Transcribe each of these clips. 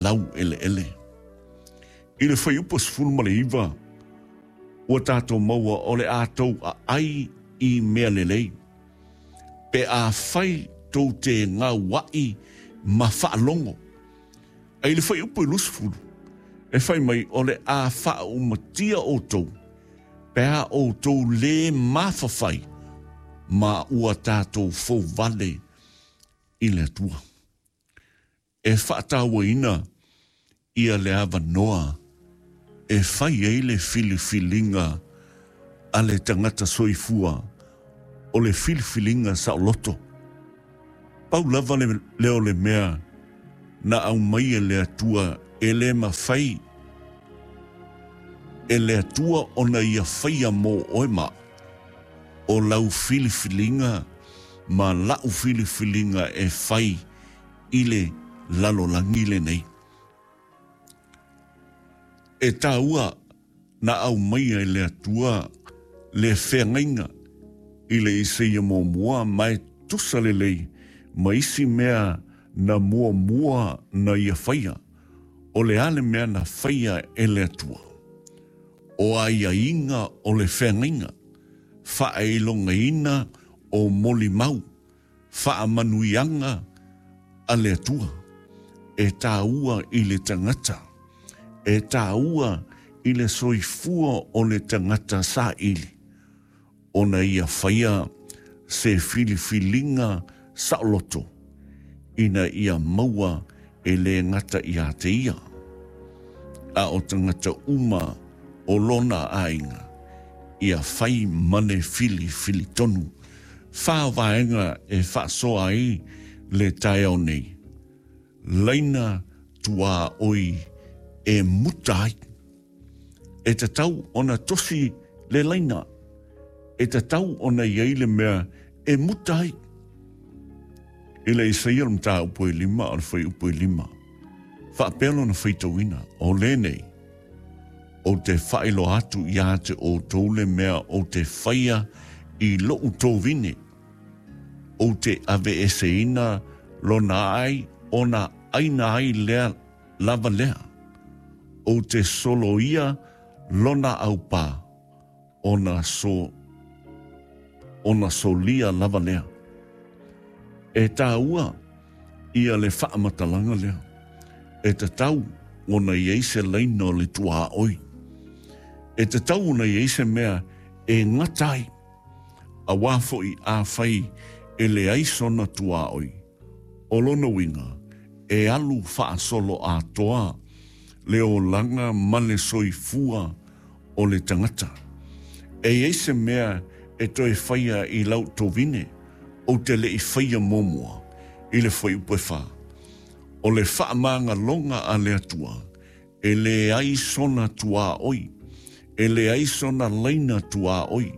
Laueleele. I le fuaiupu 19, ua tatou maua o le a tou aai i mea lelei, pe afai tou te gauaʻi ma faalogo. A i le fuaiupu 20, e fai mai o le a faaumatia outou pe a outou lē mafafai ma ua tatou fouvale i le Atua. E faatauaina ia le avanoa e fai ai le filifiliga a le tagata soifua o le filifiliga saoloto. Pau lava lea o le mea na aumai e le Atua e le mafai e le Atua ona ia faia mo oe ma au, o lau filifiliga ma la'u filifiliga e fai i le lalolagi lenei. E taua na aumaia e le Atua le feagaiga i le Isaia muamua ma e tusa lelei ma isi mea na muamua na ia faia, o le a le mea na faia e le Atua? O aiaiga o le feagaiga, faailogaina o molimau, Faamanuiaga a le Atua e taua i le tagata, e taua i le soifua o le tagata saili, ona ia faia se filifiliga saoloto ina ia maua e le gata ia te ia, a o tagata uma o lona aiga, ia fai ma le filifili tonu. Whā vaega e faasoa ai le taeao nei. Laina tuaoi e muta ai. E tatau ona tosi le laina. E tatau ona i ai le mea e muta ai. I le Isaia o le mataupu e lima o le fuaiupu e lima, faapea lona faitauina, o lenei, Ou te faailoa atu ia te outou le mea ou te faia i loʻu tovine, ou te aveeseina lona ai ona aina ai lea lava lea, ou te soloia lona aupā, ona so ona solia lava lea. E tāua ia le faamatalaga lea, e tatau ona i ai se laina o le tuaoi. E tatau ona i ai se mea e gata ai, auā foi afai e leai sona tuaoi, o lona uiga e alu faasoloatoa le olaga ma le soifua o le tagata. E i ai se mea e toe faia i lau tovine, ou te le i faia muamua i le fuaiupu e fa. O le faamagaloga a le Atua, e leai sona tuaoi, e leai sona laina tuaoi,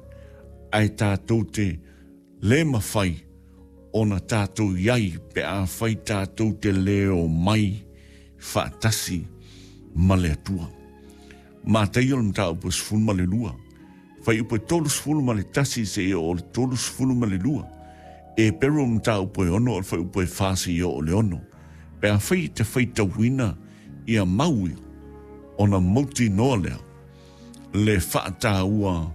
ae tatou te le mafai ona tatou i ai pe afai tatou te le omai faatasi ma le Atua. Mataio le mataupu e 12, fuaiupu e 31 seia oo i le 32, Eperu le mataupu e 6 o le fuaiupu e 4 seia oo i le 6. Pe afai e te faitauina ia mau ia, ona mautinoa lea le faataua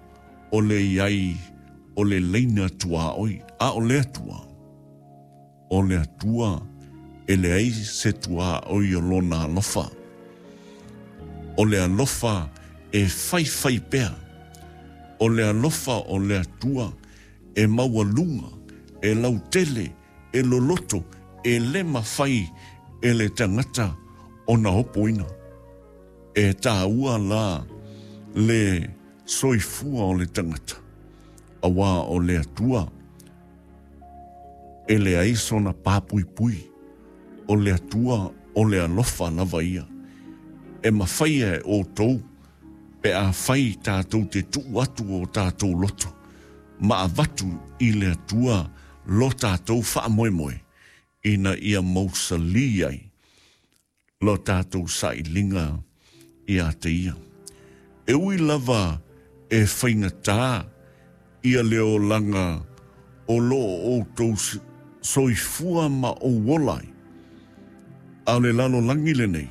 o le i ai o le laina tuaoi, a o le Atua. O le Atua e leai se tuaoi o Lona alofa. O le alofa e faifai pea. O le alofa o le Atua e maualuga, e lautele, e loloto, e le mafai e le tagata ona opoina. E taua la le soifua o le tagata, auā o le Atua e leai sona pāpuipui, o le Atua o le alofa lava ia. E mafai e outou pe afai tatou te tuu atu o tatou loto ma avatu i le Atua lo tatou faamoemoe ina ia mausalī ai lo tatou sailiga ia te ia. E ui lava e faigata ia le olaga o lo o outou soifua ma ou ola ai, a o le lalolagi lenei.